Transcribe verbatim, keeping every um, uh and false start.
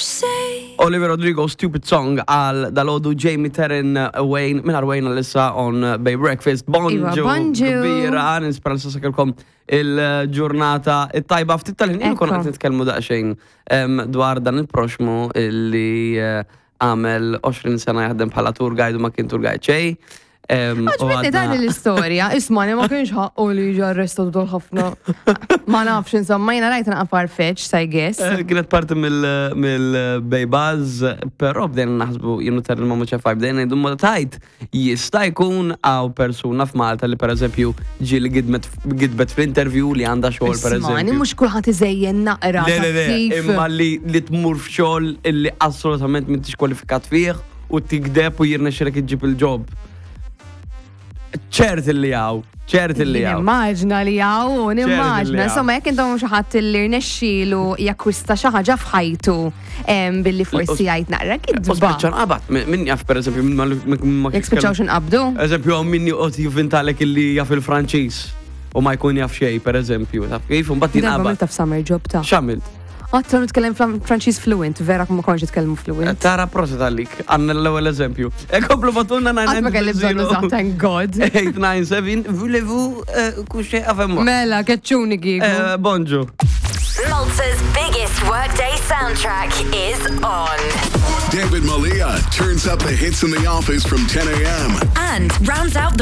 say. Olivia Rodrigo, Stupid Song għal dalgħodu Jamie Terrin uh, Wayne, minn Wayne għalissa on uh, Bay Breakfast. Iva, Bonġu, bonġu. kbira, nispera li sakelkom il-ġurnata it-tajba ftit tal-ħin ilu konna Ekku. qed nitkellmu daqsxejn em, dwar dan il-proxmu illi eh, għamel għoxrin sena jaħdem bħala tour guide u ma kien tour guide xejn. Em, u Għaġbitni dan għadna- l-istorja, isma li ma kienx ħaqqu li jiġi arrestatu dol ħafna. Ma nafx, insomma, jena rajt naqra farfetch, I guess. Eh, Kienet parti mill-Bay Buzz, però bdejna naħsbu jenu ter il-mamu ċefaj, bdejna ngħidu ma tajt, jista' jkun għaw persuna f'Malta li per eżempju ġieli gidmet gidbet fl-interview li għandha xogħol per Ismani, eżempju. mhux kulħadd iżejjen naqra. Le, le, taf le, kif. imma li li tmur f'xogħol illi assolutament m'intix kwalifikat fih u tigdeb u jirnexxilek iġġib il-job. Ċert illi hawn, ċert illi hawn. Nimmaġna li hawn, li nimmaġna. hawn. Insomma, jekk intom xi ħadd li rnexxielu jakkwista xi ħaġa f'ħajtu em, billi forsi jgħid naqra U kidba. spiċċa nqabad, min jaf per eżempju, min ma ma Jekk spiċċaw x'inqabdu? Eżempju, hawn min joqgħod jivvintalek illi jaf il-Franċiż u ma jkun jaf xejn, per eżempju. Taf kif, mbagħad Darba jinqabad. għamilta f'summer job ta' X'għamilt? Għattu nitkellem Franċiż fluent, vera ma konx nitkellmu fluent. Tara prosit għalik, għandna l-ewwel eżempju. E komplu batuna Qatt ma kelli bżonn użat, thank God. eight nine seven, voulez-vous euh, coucher avec moi? Mela, keċċuni kieku. Eh, Bonġu. Malta's biggest workday soundtrack is on. David Malia turns up the hits in the office from ten a m And rounds out the